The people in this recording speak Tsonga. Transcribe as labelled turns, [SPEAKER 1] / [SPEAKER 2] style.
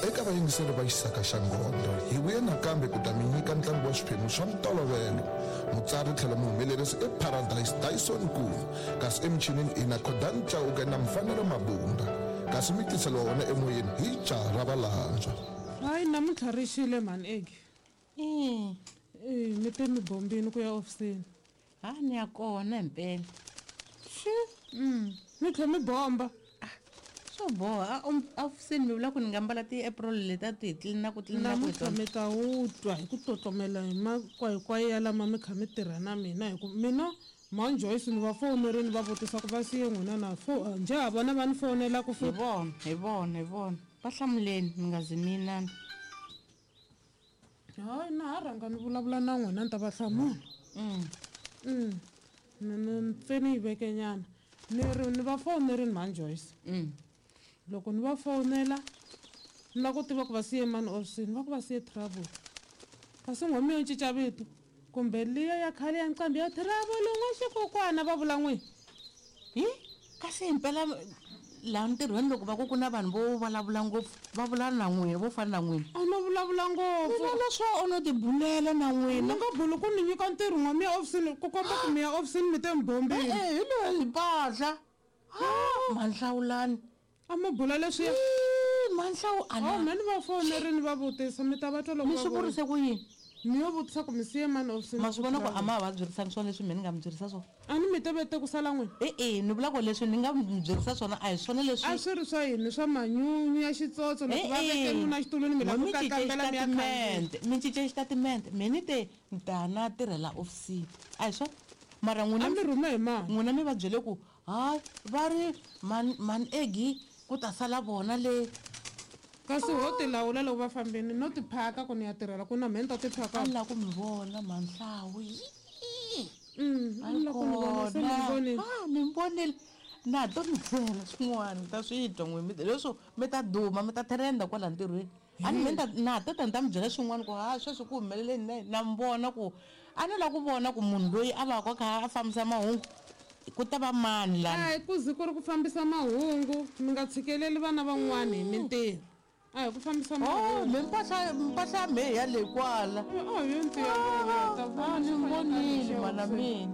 [SPEAKER 1] Eka vayingiseri va Xisaka xa Nghondo, hi vuye nakambe ku ta mi nyika ntlangu wa swiphemu swa ntolovelo. Mutsari tlhelo muhumelerisi i Paradise Dyson Nkuna, kasi emichinini hi na Khodani Chauke na Mfanelo Mabunda, kasi mi tiseliwa wona emoyeni hi jaha ra Valandzwa.
[SPEAKER 2] Hayi namuntlha ri xile mhani Eggy.
[SPEAKER 3] Ee.
[SPEAKER 2] Ee, mi te mi bombini ku ya ofisini.
[SPEAKER 3] Ha ni ya kona himpela.
[SPEAKER 2] Xi. Mi tlhe mi bomba.
[SPEAKER 3] Swo boha a ofisini mi vula ku ni nga mbala ti-apron leti a ti hi tlilina ku tlilina ku hi
[SPEAKER 2] Namuntlha
[SPEAKER 3] tona.
[SPEAKER 2] mi ta wu twa hi ku tlotlomela hi makwayikwayi ya lama mi kha mi tirha na mina hi ku mina mhani Joyce ni va fowunerini va vutisa ku va siye n'wina na fo njhe ha vona va ni fowunela ku
[SPEAKER 3] Hi
[SPEAKER 2] futhi.
[SPEAKER 3] vona, hi vona, hi vona. Va hlamuleni mi nga zi mi yinana.
[SPEAKER 2] Hayi na ha rhanga ni vulavula na n'wina ni ta va hlamula. Ni ni pfe ni yi veke nyana. Ni ri ni va fowunerini mhani Joyce. Loko ni va fowunela ni lava ku tiva ku va siye mani ofisini va ku va siye Trouble. Kasi nghoma yo cinca vito kumbe liya ya khale ya nqambi ya Trouble n'wa xikokwana va vula n'wini.
[SPEAKER 3] Hi kasi himpela laha ntirhweni loko va ku ku na vanhu vo vulavula ngopfu va vula na n'wina vo fana na n'wina.
[SPEAKER 2] A no vulavula ngopfu.
[SPEAKER 3] Mina leswo o no tibulela na n'wina.
[SPEAKER 2] Ni nga buli ku ni nyika ntirho n'wa mi ya ofisini ku komba ku mi ya ofisini mi te mi bombile.
[SPEAKER 3] E-e hi loyi mpahla. Ha Mhanhlawulani.
[SPEAKER 2] A mi bula leswiya.
[SPEAKER 3] Ii, Mhanhlawu a na.
[SPEAKER 2] Oh, me ni va fonerini va vutisa mi ta va twa loko
[SPEAKER 3] Mi
[SPEAKER 2] va
[SPEAKER 3] swi
[SPEAKER 2] vula.
[SPEAKER 3] vurise ku yini?
[SPEAKER 2] Mi yo vutisa ku mi siye mani ofisini.
[SPEAKER 3] Ma swi vona ku a ma ha va byerisangi swona leswi me ni nga mi byerisa swona.
[SPEAKER 2] A ni mi te vete ku sala n'wina.
[SPEAKER 3] E-e ni vula ku leswi ni nga mi byerisa swona a hi swona leswi.
[SPEAKER 2] A swi ri swa yini swa manyunyu ya xitsotso loko va veke nuna xitulwini mi lava ku
[SPEAKER 3] Mi cince
[SPEAKER 2] kakambela mi ya khandziya.
[SPEAKER 3] xitatimende, mi cince xitatimende. Me ni te ni ta na tirhela ofisini. A hi swona? Mara n'wina
[SPEAKER 2] A mi rhume hi mani?
[SPEAKER 3] N'wina mi va byele ku hayi va ri mhani mhani Eggy ku ta sala vona le.
[SPEAKER 2] Kasi ho ti lawula loko va fambini no ti phaka ku ni ya tirhela ku na mhe ni ta ti phaka.
[SPEAKER 3] A ni lava ku mi vona Mhanhlawu.
[SPEAKER 2] A ni lava ku mi vona se mi ni vonile.
[SPEAKER 3] Ha ni mi vonile. Na ha to mi byela swin'wana mi ta swi twa n'wina mi leswo mi ta duma mi ta trend-a kwala ntirhweni. A ni me ni ta na ha to ta ni ta mi byela swin'wana ku ha sweswi ku humeleleni na yini na mi vona ku a ni lava ku vona ku munhu loyi a va ka a kha a fambisa mahungu ku ta va mani lani.
[SPEAKER 2] A hi ku ze ku ri ku fambisa mahungu mi nga tshikeleli vana van'wana hi mintirho. A hi ku fambisa
[SPEAKER 3] Oh,
[SPEAKER 2] mahungu.
[SPEAKER 3] me mpahla mpahla ya mehe ya le kwala.
[SPEAKER 2] Oh, yo ntiya ta
[SPEAKER 3] Ah, ni vonile mana mina.